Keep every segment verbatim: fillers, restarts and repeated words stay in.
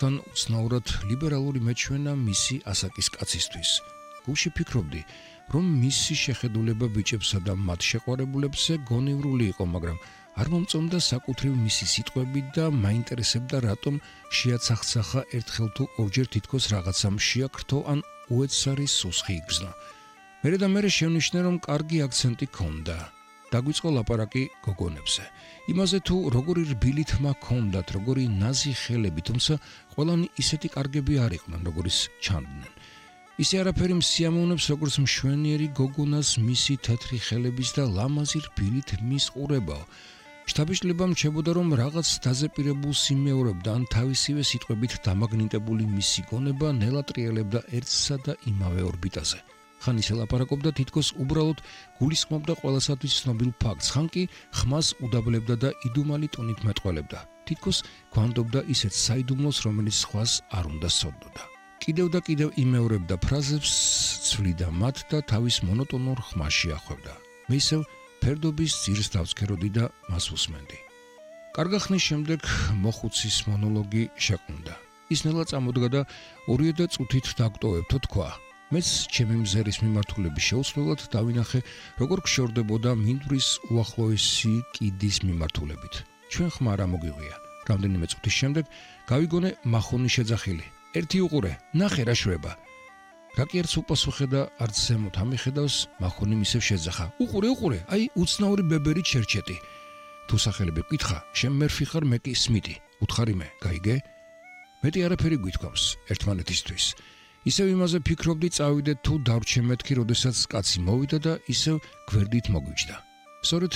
თან უცნაურად ლიბერალური მეჩვენა მისი ასაკის კაცისთვის. გულში ფიქრობდი, რომ მისი შეხედულება ბიჭებსა და მათ შეყვარებულებზე გონივრული იყო, მაგრამ არ მომწონდა საკუთრივ მისი სიტყვები და მაინტერესებდა რატომ შეაცახცახა ერთხელ თუ ორჯერ თითქოს რაღაცამ შეაქრთო ან უეცარი სუსხი იგრძნო. მერე და მერე შევნიშნე, რომ კარგი აქცენტი ჰქონდა. დაგვიწყო ლაპარაკი გოგონებზე. იმაზე თუ როგორი რბილი თმა ჰქონდათ, როგორი ნაზი ხელები, თუმცა ყველანი ისეთი კარგები არ იყვნენ, როგორიც ჩანდნენ. ისე არაფერი მსიამოვნებს, როგორც მშვენიერი გოგონას მისი თეთრი ხელების და ლამაზი რბილი თმის ყურებაო. შთაბეჭდილება მრჩებოდა, რომ რაღაც დაზეპირებულ სიმეორებდა ან თავისივე სიტყვებით დამაგნიტებული მისი გონება ნელა ტრიალებდა ერთსა და იმავე ორბიტაზე. ხან ისე ლაპარაკობდა, თითქოს უბრალოდ გულისხმობდა ყველასათვის ცნობილ ფაქტს, ხან კი ხმას უდაბლებდა და იდუმალი ტონით მეტყველებდა. თითქოს გვანდობდა ისეთ საიდუმლოს, რომელიც სხვას არ უნდა სცოდნოდა. კიდევ და კიდევ იმეორებდა ფრაზებს, ცვლიდა მათ და თავის მონოტონურ ხმაში ახვევდა. მე ისევ ფერდობის ძირს დავცქეროდი და მას უსმენდი. კარგა ხნის შემდეგ მოხუცის მონოლოგი შეყუნდა. ის ნელა წამოდგა და ორივე და წუთით დაგვტოვებთო თქვა. მეც ჩემი მზერის მიმართულების შეუცვლელად დავინახე, როგორ გშორდებოდა მინდვრის უახლოესი კიდის მიმართულებით. ჩვენ ხმა რა მოგვიღვია. რამდენიმე წუთის შემდეგ გავიგონე მახონი შეძახილი. ერთი უყურე, ნახე რა შვება. რა კი ერთს უპასუხე და არც ზემოთ ამიხედავს, მახონი ისევ შეძახა. უყურე, უყურე, აი უცნაური ბებერი ჩერჩეტი. თუ სახელები გკითხა, შენ მერფი ხარ, მე კი სმიტი. უთხარი მე, გაიგე? მეტი არაფერი გვითქვამს ერთმანეთისთვის. ისევ იმაზე ფიქრობდი, წავიდეთ თუ დავრჩე მეთქი, როდესაც კაცი მოვიდა და ისევ გვერდით მოგვიჯდა. სწორედ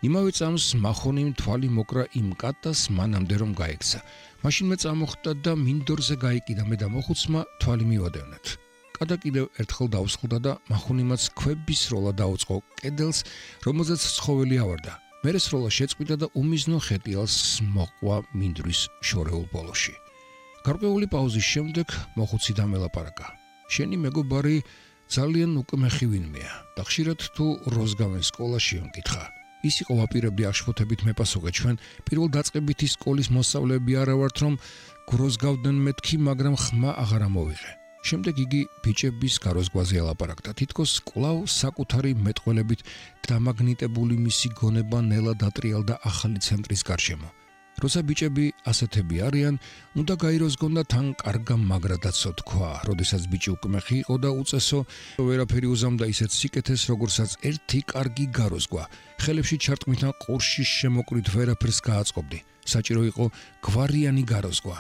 იმავე წამს მახონიმ თვალი მოკრა იმ კატას მანამდე რომ გაიქცა. მაშინ მე წამოხდა და მინდორზე გაიკიდა, მე და მოხუცმა თვალი მივადევნეთ. კატა კიდევ ერთხელ დაუსხლდა და მახონიმაც ქვების სროლა დაუწყო კედელს, რომელზეც ცხოველი ავარდა. მერე სროლა შეწყვიტა და უმიზნო ხეტიალს მოყვა მინდვრის შორეულ ბოლოში. გარკვეული პაუზის შემდეგ მოხუცი დამელაპარაკა. შენი მეგობარი ძალიან უკმეხი ვინმეა და ხშირად თუ როზგავენ სკოლაში ემკითხა. ის იყო ვაპირებდი აშფოთებით მეპასუხე, ჩვენ პირველ დაწყებითი სკოლის მოსწავლეები არა ვართ, რომ გროზგავდნენ მეთქი, მაგრამ ხმა აღარ ამოვიღე. შემდეგ იგი ბიჭების გაროზგვაზე ელაპარაკდა, თითქოს კვლავ საკუთარი მეტყველებით დამაგნიტებული მისი გონება ნელა დატრიალდა ახალი ცენტრის გარშემო. როცა ბიჭები ასეთები არიან, უნდა გაიროზგონ და თან კარგა მაგრა დაცო თქვა, როდესაც ბიჭი უკმეხი იყო და უწესო, ვერაფერი უზამდა ისეთ სიკეთეს, როგორცაც ერთი კარგი გაროზგვა. ხელებში ჩარტყმითა ყურშის შემოკვრით ვერაფერს გააწყობდი. საჭირო იყო გვარიანი გაროზგვა.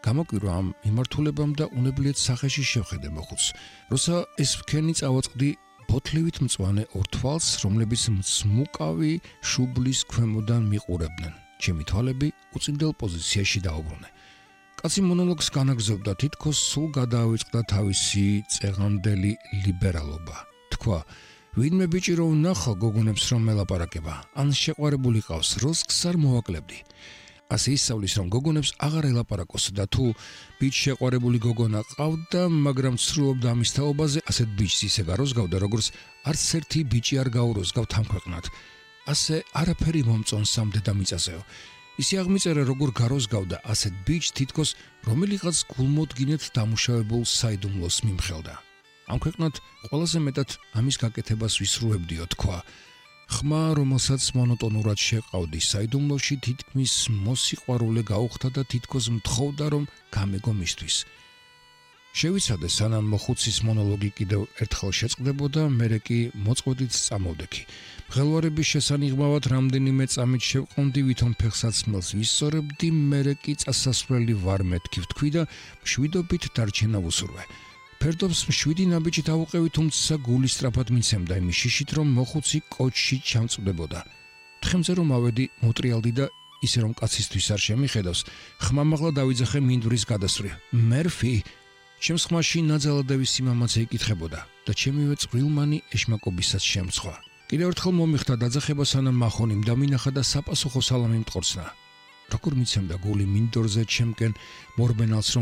გამოკვირვა ამ მიმართულებამ და უნებლიეთ სახეში შევხედე მოხუცს. როცა ეს ფქენი წავაწყდი ბოთლივით მწვანე ორ თვალს, რომლებიც მწმუკავი შუბლის ქვემოდან მიყურებდნენ. ჩემი თვალები უწინდელ პოზიციაში დაუბრუნე. კაცი მონოლოგს განაგზობდა, თითქოს სულ გადაავიწყდა თავისი წეღანდელი ლიბერალობა. თქვა, ვინმე ბიჭი რო ვნახო გოგონებს რომ ელაპარაკება, ან შეყვარებული ყავს, როსკს არ მოვაკლებდი. ასე ისწავლის, რომ გოგონებს აღარ ელაპარაკოს და თუ ბიჭ შეყვარებული გოგონა ყავდა, მაგრამ ცდილობდა ამის თაობაზე, ასეთ ბიჭს ისე გაროზგავდა, როგორც არც ერთი ბიჭი არ გაუროზგავთ ამ ქვეყნად. ასე არაფერი მომწონს ამ დედამიწაზეო. ისე აღმიწერა, როგორ გაროზგავდა ასეთ ბიჭს, თითქოს რომელიღაც გულმოდგინედ დამუშავებულ საიდუმლოს მიმხელდა. ამ ქვეყნად ყველაზე მეტად ამის გაკეთებას ვისრუებდიო, თქვა. ხმა, რომელსაც მონოტონურად შეყავდი საიდუმლოში, თითქმის მოსიყვარულე გაუხდა და თითქოს მთხოვდა, რომ გამეგო მისთვის. შევიცადე, სანამ მოხუცის მონოლოგი კიდევ ერთხელ შეწყდებოდა, მერე კი მოწყვეტით წამოვდექი. მღელვარების შესანიღმავად რამდენიმე წამით შევყონდი, ვითომ ფეხსაცმელს ვისწორებდი, მერე კი წასასვლელი ვარ მეთქი ვთქვი და მშვიდობით დარჩენა ვუსურვე. ფერდობს მშვიდი ნაბიჯით ავუყევი, თუმცა გული სწრაფად მიცემდა იმის შიშით, რომ მოხუცი კოჩში ჩამწვდებოდა. თხემზე რომ ავედი, მოტრიალდი და ისე რომ კაცისთვის არ შემიხედავს, ხმამაღლა დავიძახე მინდვრის გადასწრი. მერფი ჩემს ხმაში ნაძალადევის სიმამაცე იკითხებოდა და ჩემივე წვრილმანი ეშმაკობისაც შემცხვა. კიდევ ერთხელ მომიხდა დაძახება, სანამ მახონიმ დამინახა და საპასუხო სალამი მტყორცნა. როგორ მიცემდა გული მინდორზე ჩემკენ მორბენალს, რომ